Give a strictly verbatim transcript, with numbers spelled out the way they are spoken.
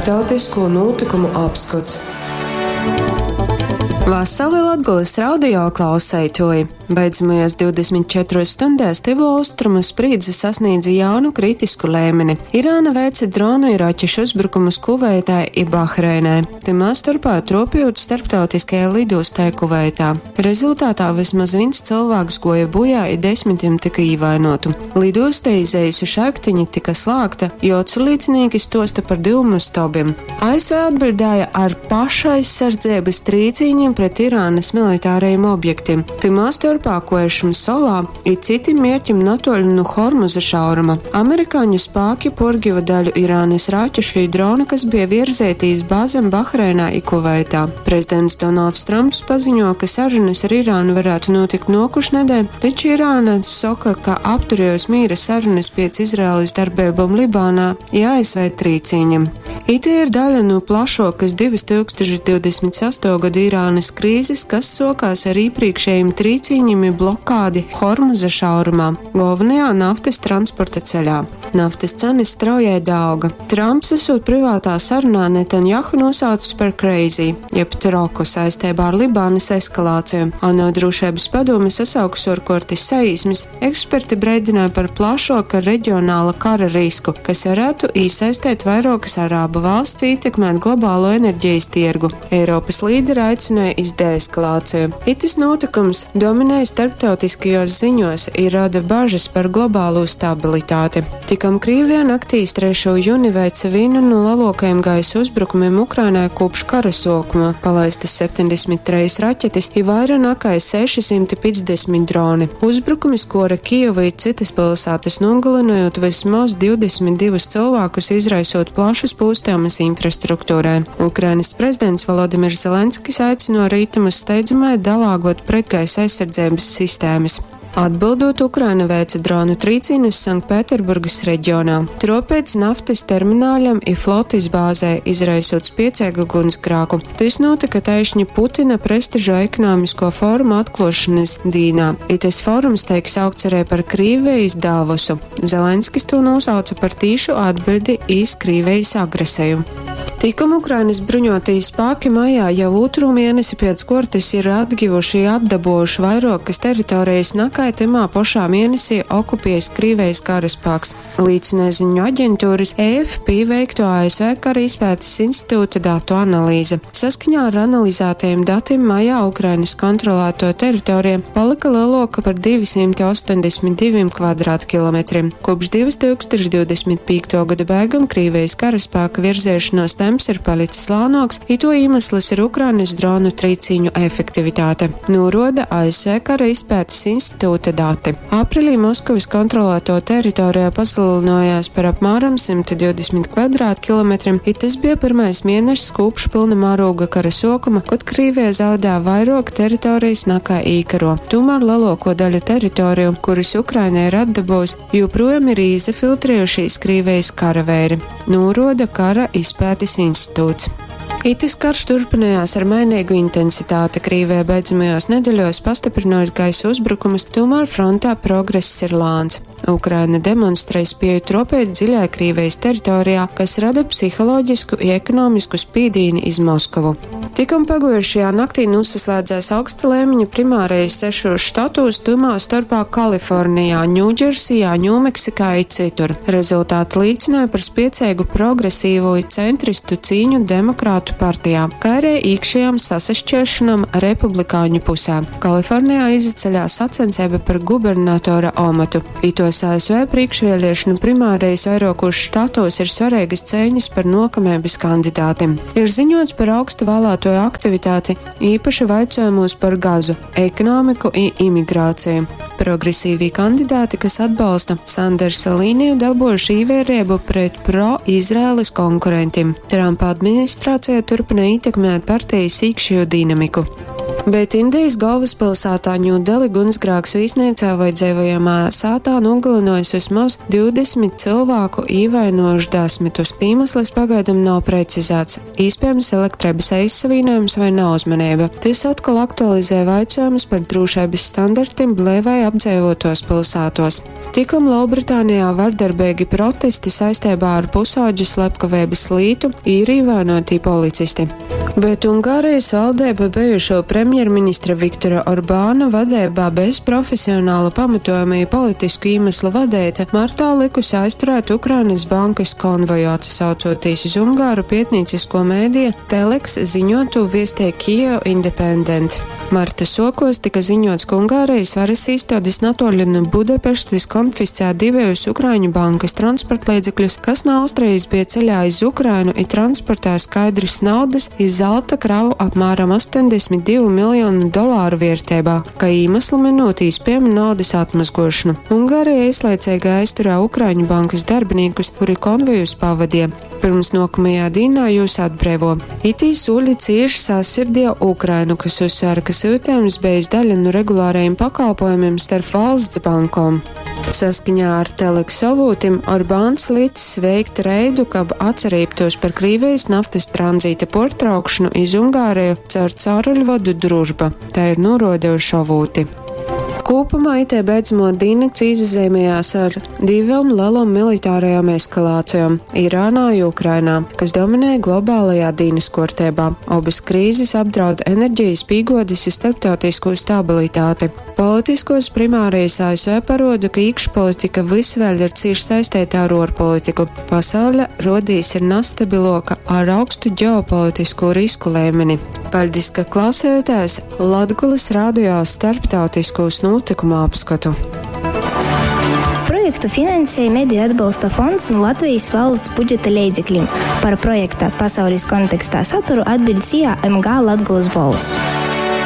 Starptautisko nūtykumu apskots. Vasali Latgolys radio klauseituoji! Beidzamajās divdesmit četruos stundēs tyvo austrumu sprīdze sasniedza jaunu kritisku lēmeni. Irāna veica dronu i raķešu uzbrukumus Kuveitai i Bahreinai, tymā storpā tropjūt starptautiskajai lidostai Kuveitā. Rezultātā vismaz viens cilvēks goja bojā i desmitim tika īvainotu. Lidosta iz eisu šaļteņu tika slāgta, jo oculīcinīki stosta par dyumu stobim. A S V atbildēja ar pašaizsardzības trīcīņiem pret Irānas militārajiem objektiem, tymā storpā Koešam solā i citim mierķim natoļu nu Hormuza šauruma. Amerikāņu spāki porgiva daļu Irānas raķešu i dronu, kas bija virzēti iz bāzem Bahreinā i Kuveitā. Prezidents Donalds Trumps paziņo, ka sarunas ar Irānu varētu notikt nokušnedēļ, taču Irāna soka, ka apturējos mīra sarunas piec Izraēlas darbībām Libānā i A S V trīcīņam. Ite ir daļa no plašokas divas tūkstoši divdesmit sesto gadu Irānas krīzes, kas sokās ar iepriekšējiem trīcīņiem i blokādi Hormuza šaurumā, galvenajā naftas transporta ceļā. Naftas cenas straujai dauga. Trumps esot privātā sarunā Netanjahu nosaucis par crazy, jeb troku saistībā ar Libānas eskalāciju. ANO drošības padome sasaukus orkortis saīsmes, eksperti breidināja par plašoka reģionāla kara risku, kas varētu iesaistīt vairākas arābu valsts ietekmēt globālo enerģijas tirgu. Eiropas līderi aicināja iz deeskalāciju. Itis notikums dominēja starptautiskajos ziņos i rada bažas par globālo stabilitāti. Tikam Krievijā naktī iz trešo jūni veica vienu no lielākajiem gaisa uzbrukumiem Ukrainai kopš kara sākuma, palaistas septiņdesmit treis raķetes i vairāk nekā sešsimti piecdesmit droni. Uzbrukumi skora Kijevu i citas pilsētas, nogalinot vismaz divdesmit divus cilvēkus, izraisot plašas pūstījumus infrastruktūrai. Ukrainas prezidents Volodimirs Zelenskis aicino rītumus steidzamai dalāgot pretgaisa aizsardzības sistēmas. Atbildot, Ukraina veica dronu trīcīnus Sanktpēterburgas reģionā. Tropēc naftas termināļam i flotis bāzē, izraisot spiecēgu gunsgrāku. Tas notika taišņi Putina prestižo ekonomisko forumu atklāšanas dīnā. I tas forums tiek saukts arī par Krīvijas Davosu. Zelenskis to nosauca par tīšu atbildi iz Krīvijas agresiju. Tikam Ukrainas bruņotie spēki maijā jau otru mēnesi pēc kārtas ir atgivuši atdabojuši vairākas teritorijas nakai timā pašā mēnesī okupējis Krīvijas karaspēks. Līdzina ziņu aģentūras E F P veikto A S V kara izpētes institūta datu analīze. Saskaņā ar analizētajiem datiem maijā Ukrainas kontrolēto teritoriju palika lielāka par divsimt astoņdesmit diviem kvadrātkilometriem. Kopš divas tūkstoši divdesmit piekto gada beigām Krīvijas karaspēka virzēšanos temps ir palicis lānoks, i to iemesls ir Ukrainas dronu trīcīņu efektivitāte, noroda A S V kara izpētes institūta dati. Aprīlī Maskavas kontrolēto teritorijā paslilinājās par apmēram simt divdesmit kvadrātkilometriem, i tas bija pirmais mēnešs kopš pilna mēroga kara sākuma, kad Krīvija zaudē vairāk teritorijas nekā īkaro. Tomēr lielāko daļu teritoriju, kuras Ukraina ir atdabūjusi, joprojām ir izfiltrējušies Krīvijas karavēri, noroda kara izpētes institūts. Itis karš turpinājās ar mainīgu intensitāti. Krīvija beidzamajās nedēļos pastiprinājusi gaisa uzbrukumus, tomēr frontā progress ir lāns. Ukraina demonstrē spēju tropēt dziļai Krīvijas teritorijā, kas rada psiholoģisku un ekonomisku spīdīni iz Moskavu. Tikam pagojušajā naktī nosaslēdzās augsta līmeņa primārais sešos štatos, tumā starpā Kalifornijā, Ņūdžersijā, Ņūmeksikā i citur. Rezultāti liecināja par spiecīgu progresīvo i centristu cīņu Demokrātu partijā, kā arī iekšējām sasašķiršanām republikāņu pusē. Kalifornijā izceļās sacensība par gubernatora amatu. Itos A S V priekšvēlēšanu primārais vairākos štatos ir svarīgas cīņas par nokamības kandidātiem. Ir ziņots par augstu vēlētoju aktivitāti, īpaši vaicojumos par gazu, ekonomiku i imigrāciju. Progresīvie kandidāti, kas atbalsta Sandersa līniju, dabūjuši īvērību pret pro-Izraēlas konkurentiem. Trumpa administrācija turpina ietekmēt partijas iekšējo dinamiku. Bet Indijas galvaspilsētā Ņūdeli gunsgrāks vīsniecā vai dzīvojamā sātā nogalinojis vismaz divdesmit cilvēku, īvainojuši desmitus. Iemesls pagaidām nav precizēts. Iespējams, elektrības aizsavīnojums vai neuzmanība. Tas atkal aktualizē jautājumus par drošības standartiem blēvai apdzīvotos pilsētos. Tikom Lielbritānijā vardarbeigi protesti saistībā ar pusaudža slepkaveibas lītu ir ievainoti policisti. Bet Ungārijas valdība bijušo premjerministra Viktora Orbāna vadībā bez profesionāla pamatojuma i politisku iemeslu vadēta martā likusi aizturēt Ukrainas bankas konvoju, atsaucoties uz Ungāru pietnīcisko mēdīju Telex ziņotu viestē Kiev Independent. Marta sokos tika ziņots, ka Ungārijas varas īstādes natoļi no Budapeštas konfiscē divējus Ukraiņu bankas transportlīdzekļus, kas no Austrijas bija ceļā iz Ukrainu i transportē skaidrs naudas iz zelta kravu apmēram astoņdesmit divu miljonu dolāru vērtībā, ka iemeslu minūtīs piemin naudas atmazgošanu. Ungārija īslaicīgi aizturē Ukraiņu bankas darbiniekus, kuri konvojus pavadīja. Pirms nokamajā dīnā jūs atbrīvo. Itī sūļi cīši sasirdīja Ukrainu, kas uzsvēra, ka sūtījums bijis daļa no regulārajiem pakalpojumiem starp valsts bankom. Saskaņā ar Telex avūtim Orbāns licis veikt reidu, kab atcerībtos par Krīvijas naftas tranzīta portraukšanu iz Ungāriju caur cauruļvadu Družba. Tā ir norodījuši avūti. Kopumā itē beidzamo dīnakts izazīmējās ar divām lielām militārajām eskalācijām – Irānā un Ukrainā, kas dominēja globālajā dīnas kārtībā. Abas krīzes apdraud enerģijas pīgodes i starptautisko stabilitāti. Politiskos primārijas A S V paroda, ka iekšpolitika vis vēl ir cieši saistīta ar ārpolitiku. Pasaule rodīs ir nestabiloka ar augstu ģeopolitisko risku līmeni. Paldies, ka klausījāties Latgulas radio starptautiskos notikumu apskatu. Projektu finansēja Mediju atbalsta fonds no Latvijas valsts budžeta leidzekļiem. Par projekta pasaules kontekstā saturu atbild S I A M G Latgulas Bolss.